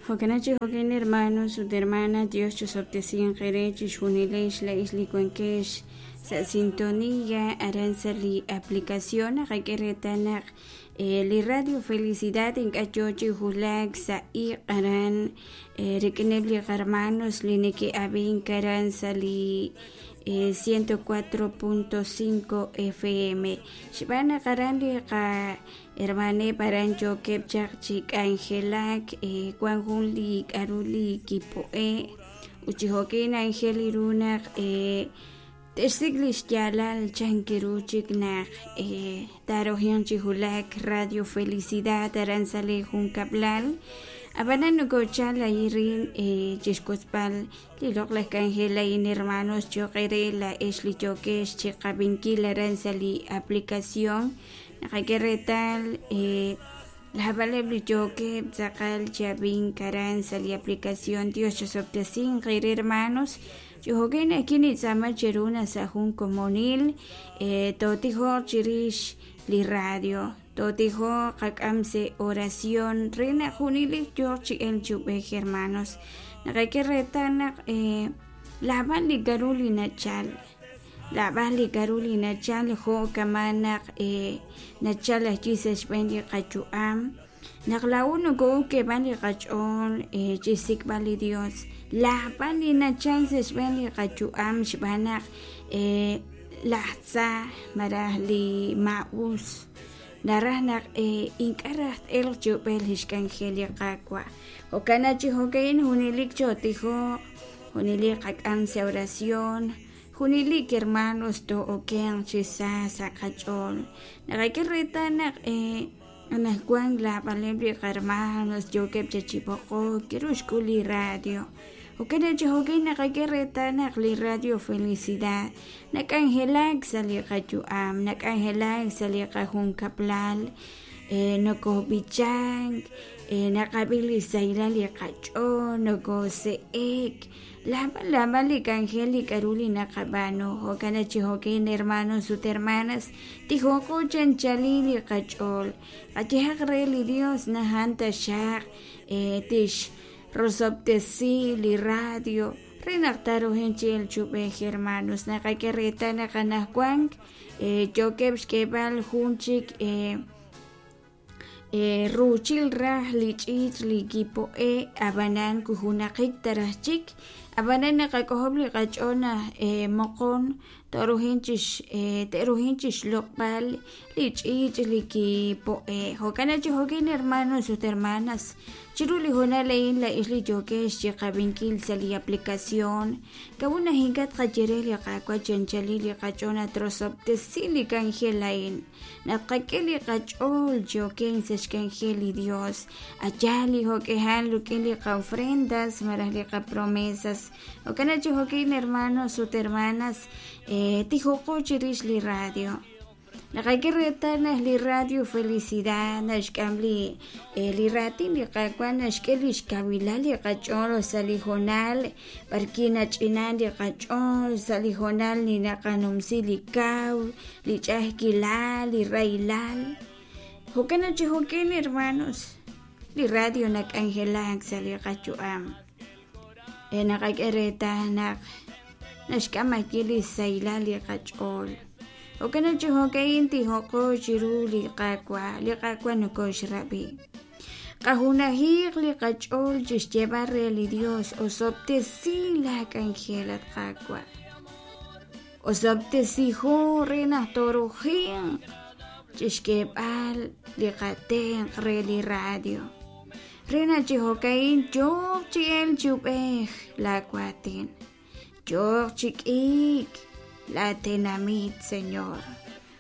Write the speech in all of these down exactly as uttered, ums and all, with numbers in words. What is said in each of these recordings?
Jo'kan chi jo'kan hermanos ut hermanas, Dios chosob'tesinq eere chixjunilex la'ix li wankex sa' sintonía aran sa' li aplicación naqak'e reetal naq li Radio Felicidad ink'a' yoo chi wulak sa' iq' aran rik'ineb' li qarmanos li neke'ab'ink aran sa' li ciento cuatro punto cinco F M xb'aan naq aran li qahermaneb' aran yookeb' chaq chi k'anjelak wan jun li k'a'ru li kipo'e' ut chi jo'kan anjel ru naq te'xsik' li xyaalal chan kiru chik naq tarojion chi wulak Radio Felicidad aran sa' li junkab'lal ab'anan nokochal ayirin chixwotzb'al li loq'laj k'anjel a'in hermanos cho'q eere la'ex li yookex chiqab'inkil aran sa' li aplicación naqak'e reetal lajb'aleb' li yookeb' tz'aqal chi ab'ink aran sa' li aplicación Dios chosob'tesinq eere hermanos Jo'kan akinitz'aama cheru naq sa' jun komonil tootijoq chirix li radio tootijoq qak'am sa' oración re naq junelik yooq chi elk chi ub'ej hermanos naqak'e reetal naq laab'al li k'a'ru li nachal laab'al li k'a'ru li nachal jo' kama' naq nachal ajwi' sa' xb'een li qayu'am naq laa'o noko'ok k'eeb'al li qach'ool chixsik'b'al li Dios laab'al li nachal sa' xb'een li qayu'am xb'aan naq laj tza malaj li maa'us naraj naq ink'a' raj t'elq chi ub'ej li xk'anjel li Qaawa' jo'kan naq chi jo'kan junelik chootijoq junelik qak'am sa' oración junelik hermanos too'okenq chi sa sa' qach'ool naqak'e reetal naq anajwan laab'aleb' li qarmanos yookeb' chachipoqok kiru xk'ul li radio jo'kan naq chi jo'kan naqak'e reetal naq li Radio Felicidad nak'anjelak sa' li qayu'am nak'anjelak sa' li qajunkab'lal nokob'ichank naqab'i li sahilal li qach'ool nokose'ek laab'al laab'al li k'anjel li k'a'ru li naqab'aanu jo'kan naq chi jo'kan hermanos ut hermanas tijoqo chanchali li qach'ool qayehaq re li Dios najan taxaq tix rosob'tesi li radio re naq tarojen chi elk chi ub'ej hermanos naqak'e reetal naq anajwan yookeb' xk'eeb'al jun chik ruuchil raj li ch'iich' li kipo'e' ab'anan kujunaqik taraj chik ab'anan naqak'ojob' li qach'ool naq moqon to'rujin chix te'rujin chixloq'b'al li ch'iich' li kipo'e' jo'kan naq chi jo'kan hermanos ut hermanas chiru li hoonal a'in la'ix li yookex chiqab'inkil sa' li aplicación k'a'ut naq ink'a' tqaye re li Qaawa' chanchali li qach'ool naq trosob'tesi li k'anjel a'in naq tqak'e li qach'ool yookeb' sa' xk'anjel li Dios allá li jo'k'ejal rik'in li qa'ofrendas malaj li qapromesas jo'kan naq chi jo'kan hermanos ut hermanas tijoqo chirix li radio naqak'e reetal naq li Radio Felicidad naxk'am li li raatin li Qaawa' naxk'e li xkawilal li qach'ool sa' li hoonal b'arki nach'inan li qach'ool sa' li hoonal li naqanumsi li kaw li ch'a'ajkilal li rahilal jo'kan naq chi jo'kan hermanos li radio nak'anjelak sa' li qayu'am naqak'e reetal naq naxk'am ajwi' li sahilal li qach'ool jo'kan naq chi jo'kan tijoqo chiru li Qaawa' li Qaawa' nokoxrab'i qajunajiq li qach'ool chixyeeb'al re li Dios osob'tesi la k'anjel at Qaawa' osob'tesijo re naq toorujinq chixk'eeb'al li qatenq re li radio re naq chi jo'kan yooq chi elk chi ub'ej la waatin yooq chi k'iik la tenamit Señor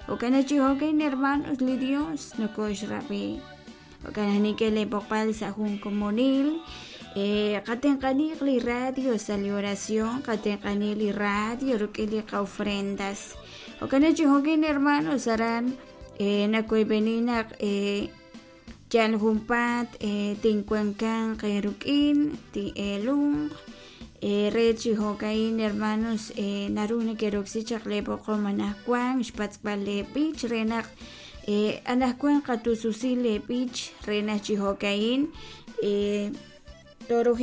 jo'kan naq chi jo'kan hermanos li Dios nokoxrab'i jo'kan naq nikeleb'oqb'al sa' jun komonil qatenq'aniq li radio sa' li oración qatenq'ani li radio rik'in li qa'ofrendas jo'kan naq chi jo'kan hermanos aran nakoyb'eni naq yal junpaat tinwankanq rik'in tin'eelunq re chi jo'kan hermanos naru neke'roksi chaq leeb'oqom anajwan xpatz'b'al leeb'ich re naq anajwan qatususi leeb'ich re naq chi jo'kan Toruji